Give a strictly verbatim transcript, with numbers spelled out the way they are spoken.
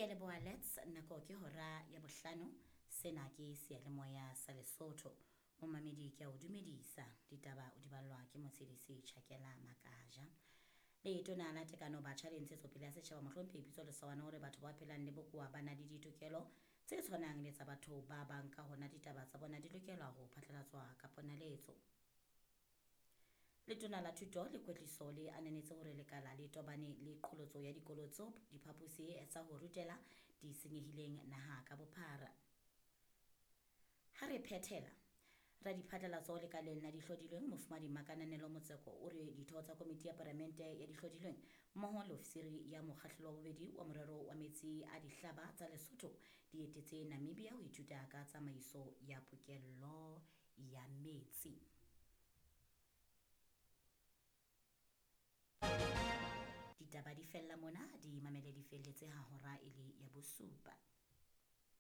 Ke a leboha Lets, nako ke hora ya bohlano. Sena ke seyalemoya sa Lesotho. Momamedi ke a o dumedisa. Ditaba o di ballwa ke Motshedisi Chakela Makaja. Letona la Tekano Batjha le Ntshetsopele ya Setjhaba Mohlomphehi Pitso Lesawana hore batho ba phelang le bokowa ba na le ditokelo tse tshwanang le tsa batho ba bang, ka hona ditaba tsa bona di lokela ho phatlalatswa ka ponaletso. Letona la Thuto le Kwetliso le ananetse hore lekala le tobane le qholotso ya dikolo tseo diphaposi tsa ho rutela di senyehileng naha ka bophara. Ha re phethela, radiphatlalatso lekaleng la dihlodilweng Mofumadi Makananelo Motseko o re ditho tsa komiti ya palamente ya dihlodilweng mmoho le ofisiri ya mokgahlelo wa bobedi wa morero wa metsi a dihlaba tsa Lesotho di etetse Namibia ho ithuta ka tsamaiso ya pokello ya metsi. Ditaba di fella mona, di mamele di felletse ha hora e le ya bosupa.